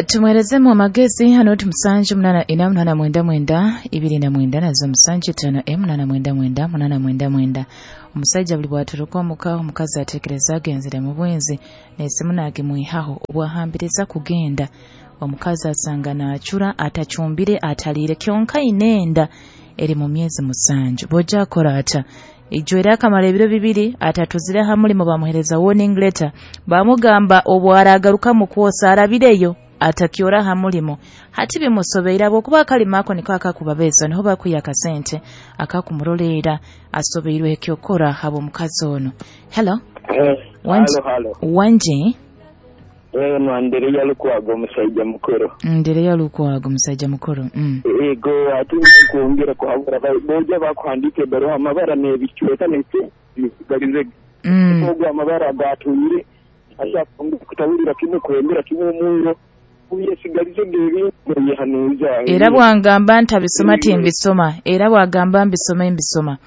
Tumwerezemu amagezi hano ti 7 8 4 8 9 29 nazo 7 5 8 9 9 8 99. Omusajja buli bwaturuka omuka, omukazi atekereza agenzere mu bwenzi, n'esimu naagimwihaho obwahambiriza kugenda. Omukazi asanga naacura, atacumbire, ataliire, kyonka aine enda eri mu myezi 7. Bwojja akora ata? Ijo era akamara ebiro 2 atatuzire ha mulimo, bamuhereza warning letter, bamugamba obwaragaruka mu kwosa arabireyo atakyora ha mulimo. Hati bimusobeire habwokuba akalimo ako niko akakubabeesa, niho bakwiha akasente akakumuroleera. Asobeirwe ekyokora habw'omukazi ono. Hello. Wangi. Halo, halo. Wangi. Eno Andereya Lukwago, omusajja mukuru. Ndereya Lukwago, musajja mukuru. Ego, ate nkwongera kuhabura boja bakuhandika ebaruha, amabara n'ebicweka nesigalize. Ogwo amabara gatuyire ashaka kutawulira kimwe, kwembera kimwe omwiro uyesigalize gebintu yehanuza. Era bwangamba ntabisoma timbisoma, era bwagamba mbisome mbisoma.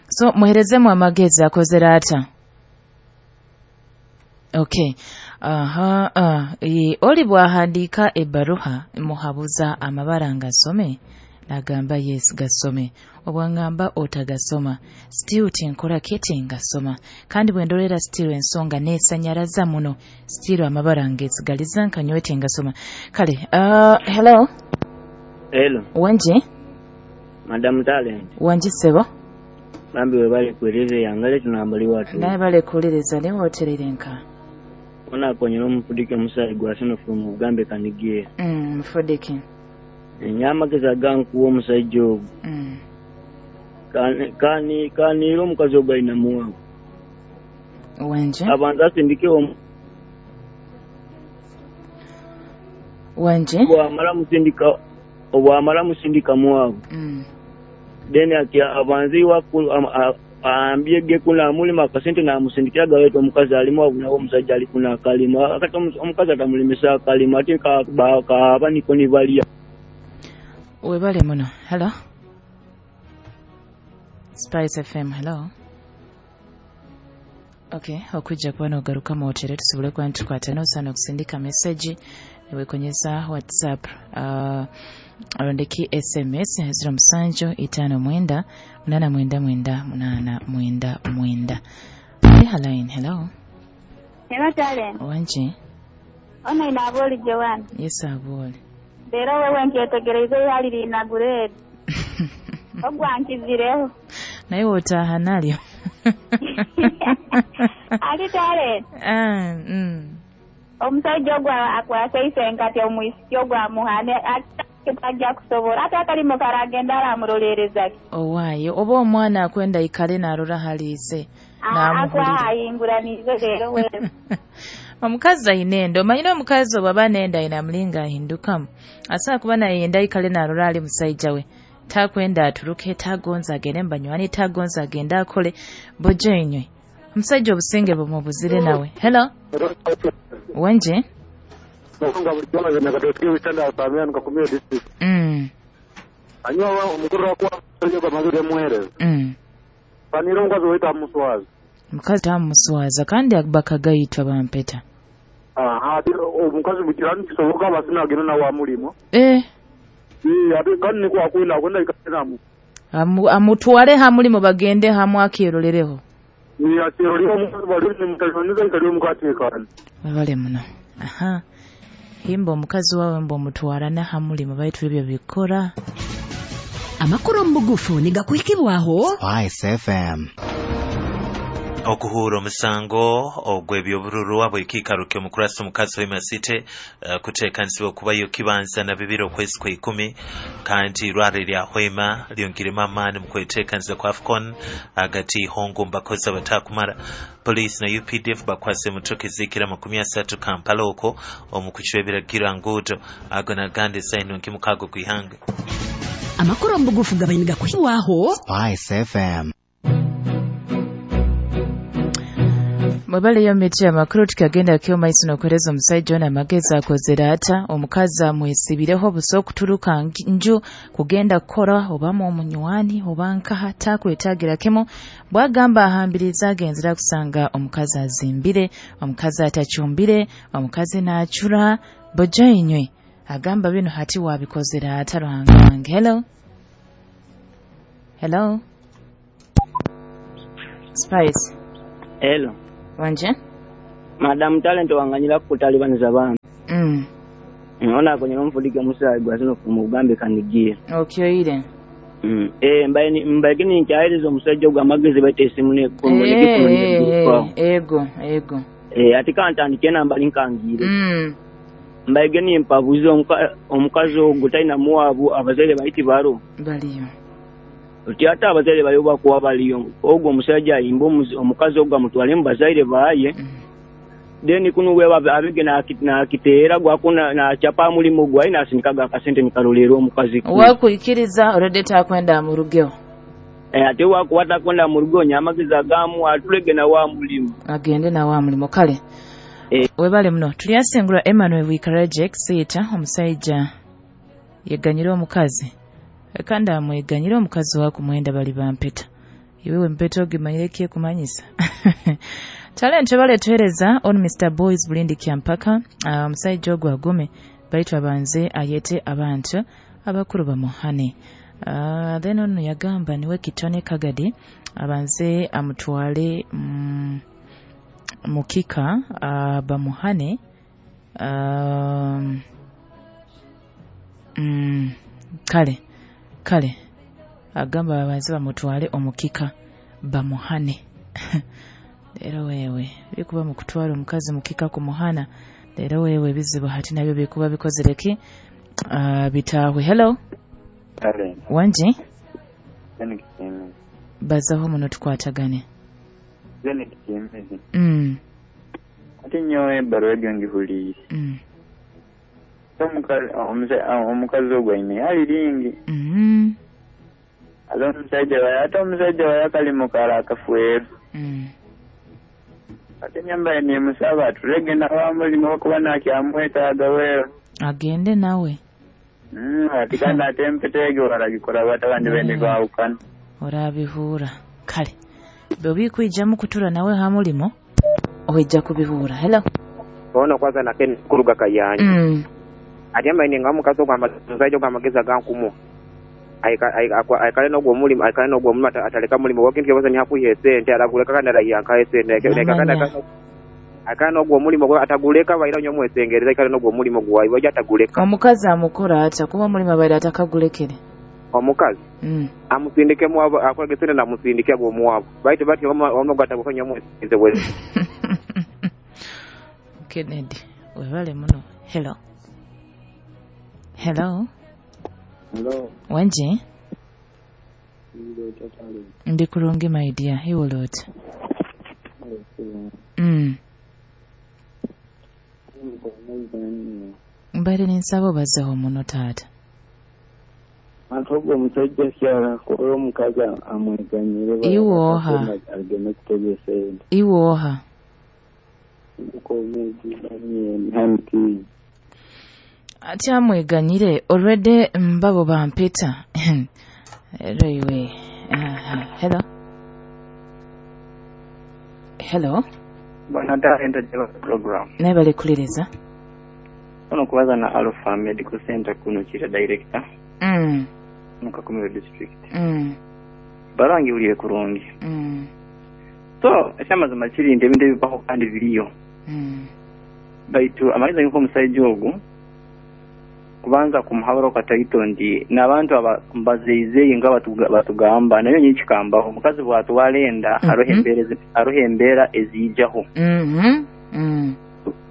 So muherezemu amagezi, akozere ata? Okay, aha, oli bwahandiika ebbaruha, muhabuza amabara ngasome, nagamba yes gasome. Obwangamba otagasoma, still tinkora kiti ngasoma, kandi bwendolera still ensonga nesanyaraza muno, still amabara ngesigaliza nkanyowe tingasoma. Kale, hello. Hello. Wangi. Madam Talent. Wangi sebo. Bambi webale kuwereza yangale tunambali watu. Naye bale kuwuliriza, naye woterere nka Onakonyera omufudike omusaayi gwa sinofu mu bugambe kanigiye. Mufudike. Enyamagezi agankuwa omusajja ogwo. Kaniira omukazi ogwo alina muwaabo. Wanje. Abanza asindike Wanje. Obwamala musindika muwaabo. Then abanze iwaku ambye ge kuna mulima akasente namusindikira gaweta omukazi alimu awo, nawo omusajja ali kuna akalima akati omukazi atamulimisa akalima ate kaaba niko nibalya. Webale muno. Hello, Spice FM. Hello. Okay, okujja kuba nogaruka muwotere tusobole kuba nitukwata nosaana okusindika message niwekonyeza WhatsApp, arondeki SMS 07 59 899 899. Line, hello. Hello, Talent. Wangi. Ono ina aboli Joan. Yes, aboli. Leero wewe nkyetegereze yali lina grade. Ogwankizireho. Naye wotaaha nalyo. Ali Talent. Ah. Omusajja ogwo akwasa enkati omwisiki ogwo amuhane tajja kusobola ate akalimo karagenda aramurolereza ki. Owaayo oba omwana akwenda ikale narora haliise namuhulira. Akwahayinguranize leero wewe. Omukazi ayina enda, omanyire omukazi obwaba nenda ayina mulinga ahindukamu, asobola kuba nayenda ikale narora ali musajja we, takwenda aturuke, tagonza agende mubanywani, tagonza agende akole bojo enywe omusajja obusinge bumubuzire nawe. Hello. Wenje. Anywa omukuru wakuwa panira omukazi waitu amuswaza. Omukazi tamuswaza kandi bakagayitwa bampeta. Aha, omukazi mukirani kisoboka abasina agenda nawe amulimo. Ate kandi niko akwenda akwenda ikatenamu. Amutwale hamulimo bagende hamu akyerolereho. Akyeroleho omukazi bali nimutalibanyiza ikali omukateekana. Webale muno. Aha. Himba omukazi wawe mba omutwara na hamulimo baitu ebyo bikora. Amakuru mu bugufu nigakuhikibwaho Spice FM. Okuhura omusango ogw'ebyobururu abw'ekiikaro ky'omukurasi omukazi w'emasite, kuteekanisibwa okubayo kibanza na 2 okwezi kwa 10, kandi irwaro lya Hoima lyongiremu amaani mu kweteekaniza kwa AFCON agati hongo mbakozi abatakumara. Poliisi na UPDF bakwase emotoka ezikira 30 Kampala okwo omu kucwa ebiragiro nguudo. Ago nagandi esaino nkimukago kwihanga. Amakuru mu bugufu gabaye nigakuhikibwaho Spice FM. Mwebaleyo miti amakuru tukagenda kyo maiso n'okuhereza omusajja ono amagezi akozere ata omukazi amwesibireho busa okuturuka nju kugenda kukora obamu omunywani oba nkaha takwetagira kimu bwagamba ahambiriza agenzera kusanga omukazi azimbire, omukazi atachumbire, omukazi naacura bojainywe agamba bino hati wabikozere ata Ruhanga wange. Hello. Hello. Spice. Hello. Wanje? Madam Talent wanganyira kutalibaniza abantu. Ona akonyera omufudike musayi gwazino kumugambe kanigiye. Okyoire. Mbaye kini nkyayiriza omusajja ogwo amagezi baita esimu ne Ego, ego. Ati kantandike namba linkangire. Mbaye geni mpabuze omukazi ogwo talina muwabu abazaire baiti baro. Baliyo. Oti ate abazaire bayo bakuwa baliyo. Ogwo omusajja ayimba omukazi ogwo amutwale mu bazaire baye. Then kuno we abige nakiteera gwako nachapa mulimu gwayi nasindikaga akasente nikalolera omukazi. Wakuikiriza already takwenda mu rugeo. Ate wakuwata kwenda mu rugo nyamagezi agamu atulege na wa mulimu. Agende na wa mulimu kale. Webale muno tulyasengura Emmanuel Wikaraje Sita omusajja yeganyira omukazi. Kandi amweganyira omukazi wakumwenda bali bampeta. Iwewe mpeta ogimanyire kiye kumanyisa. Talent bale tuhereza on Mr. Boys Bulindi Kyampaka omusajja ogwo agume baitu abanze ayete abantu abakuru bamuhane. Then ono yagamba niwe Kitone Kagadi abanze amutwale mukika bamuhane. Kale agamba babanze bamutwale omukika bamuhane. Leero wewe bikuba mu kutwala omukazi mukika kumuhana leero wewe bizibu hati nabyo bikuba bikozereki bitahwe. Hello. Hello. Wanji bazaho muno tukwatagane. Ati nyowe ebbaluwa egyo ngihuliire. Omukazi ogwo aine ali lingi. Ate omusajja waye ate omusajja waye akalimu kala akafueru. Ate nyambaye nimusaba atulege nawe mulimu okuba nakyamwetaaga weero. Agende nawe. Ati kandi ate empeta egyo baragikora bata abandi bende kwawukana. Orabihura. Kale. Bw'obikwijamu kutura nawe ha mulimo ojja kubihura. Hello. Ono kwanza na Ken kuruga kayanja. Ati amaine nga omukazi ogwo omusajja ogwo amagezi agankumu. Aikale n'ogwo mulimu aikale n'ogwo mulimu ataleka mulimu wakintu kyobaza nyakuha esente araguleka kandi arayanka esente aikale n'ogwo mulimu ataguleka baira nyo omwesengereza aikale n'ogwo mulimu gwayi wajja ataguleka. Omukazi amukora ata kuba omulimu abaire atakagulekere. Omukazi amusindike muwabo akolege sente namusindike agwo omuwabo baitu bati ono gataguka nyo omwesengereza bwe. Kennedy webale muno. Hello. Hello. Hello. Wanji? Ndi kurungi my dear. Iwe lot. Mbale ninsaba bazeho muno taata. Ate ogwo omusajja kyala kola omukazi amweganyire. Iwoha. Agende kutega esente. Iwoha. Ati amweganyire already mbabo bampeta. Ero iwe. Hello. Hello. Bwana Talent program. Naye bali kuliriza. Ono kubaza na Alpha Medical Center kuno kira director. Mukakumiro district. Barangi uliye kurungi. So ekyamazima kiri nti ebintu ebibaho kandi biriyo. Baitu amagezi nko omusajja ogwo kubanza kumuhabura okataito ndi n'abantu abazeizeyi nga batugamba nayo nyikikambaho omukazi bwatwala enda aroho embeera eziijaho.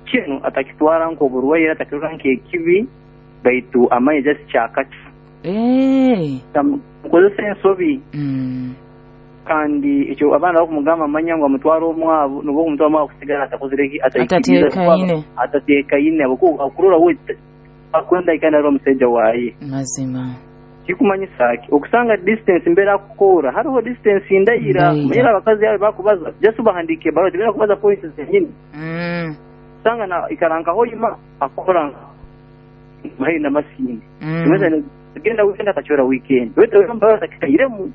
Kinu atakitwara nk'oburwaire atakirora nk'ekibi baitu amanye just kyakaki. Mukozesa ensobi. Kandi ekyo abaana bakumugamba amanya ngu amutwara omwavu nubwo omutwara omwavu kusigala atakozire atateekaine akurora we akwenda ikana ro omusajja waye. Mazima. Kikumanyisa ki okusanga distance mbeera kukora hariho distance ndayira manyira abakazi abo bakubaza just bahandiika ebaruha tibeera kubaza points zenyini. Kusanga na ikara nka Hoima akora haihi na Masindi. Genda weekend akachora weekend wete kikairemu.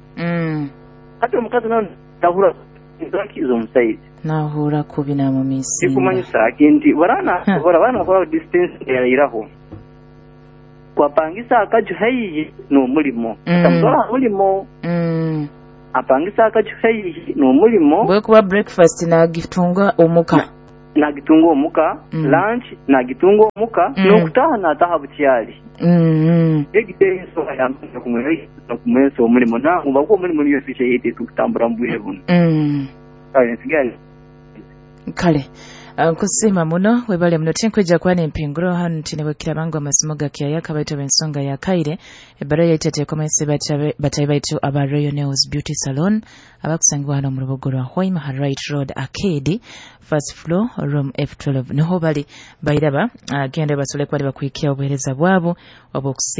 Hati omukazi nawe nahura zaki z'omusaizi nahura kubi namumisinga. Kikumanyisa ki nti barana bakora distance yayiraho kwapangisa akaju haihi n'omulimo. Atamutwara mulimo. Apangisa akaju haihi n'omulimo bwe kuba breakfast nagitunga omuka. Nagitunga omuka, lunch nagitunga omuka, n'okutaha nataha bukyali. Egite ensonga yamanya kumwensa omulimo nangu bakuwa omulimo niyo ficha yete tukutambura mu bwire buno. Kale nsigaye. Kale nkusima muno webale muno tinkwijja kuba nempinguro hano tinebwekira bangu amasimu gakyayaka baitu b'ensonga ya kaire ebbaluwa yaitu eteekomese batayi baitu aba Royal Nails Beauty Salon abakusangibwa hano mu rubuga rwa Hoima ha Right Road Arcade first floor room F12 niho bali bairaba genda basobole kuba bakuhikia obuheereza bwabo obw'okusiiga.